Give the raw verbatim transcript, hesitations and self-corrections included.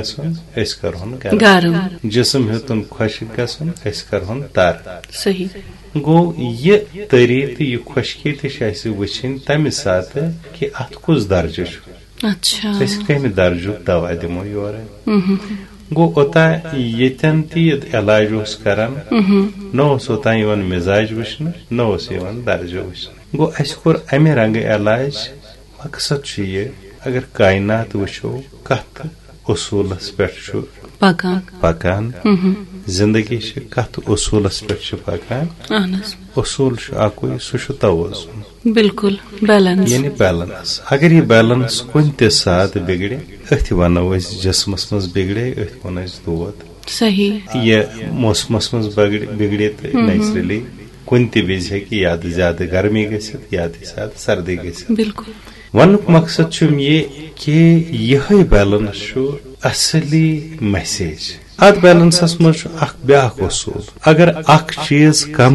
گژھُن، أسۍ کرہون گرم۔ گرم۔ جسم ہیوٚتُن خۄشٕک گژھُن، أسۍ کرہون تر۔ صحیح۔ گوٚو، یہِ تٔری تہٕ یہِ خۄشکی تہِ چھِ اَسہِ وٕچھِنۍ تَمہِ ساتہٕ کہِ اَتھ کُس درجہٕ چھُ۔ اچھا۔ أسۍ کَمہِ درجُک دوا دِمو یورٕ۔ مہم۔ گوٚو، اوٚتام ییٚتٮ۪ن تہِ یہِ علاج اوس کران، مہم۔ نہ اوس اوٚتام یِوان مِزاج وٕچھنہٕ، نہ اوس یِوان درجہٕ وٕچھنہٕ۔ گوٚو، اَسہِ کوٚر اَمہِ رنگہٕ علاج۔ مقصد چھُ یہِ، اگر کائنات وٕچھو، کتھ اصوٗلس پٮ۪ٹھ چھُ پکان۔ پکان، مہم۔ زندگی چھِ کتھ اصوٗلس پٮ۪ٹھ چھِ پکان۔ اہن حظ۔ اصوٗل چھُ اکُے، سُہ چھُ توازن۔ بالکل، بیلنس۔ یعنی بیلنس۔ اگر یہِ بیلنس کُنہِ تہِ ساتہٕ بگڑِ، أتھۍ ونو أسۍ جسمس منٛز بگڑے، أتھۍ ونو أسۍ دود۔ صحیح۔ یہِ موسمس منٛز بگڑِ، بگڑِ تہٕ مہم۔ نیچرلی کُنہِ تہِ وِزِ ہیٚکہِ یا تہِ زیادٕ گرمی گٔژھِتھ یا تہِ زیادٕ سردی گٔژھِتھ۔ بالکل۔ ونُک مقصد چھُم یہِ کہِ یِہوٚے بیلنس چھُ اصلی میسیج۔ اتھ بیلنسس منٛز چھُ اکھ بیاکھ اصوٗل۔ اگر اکھ چیٖز کم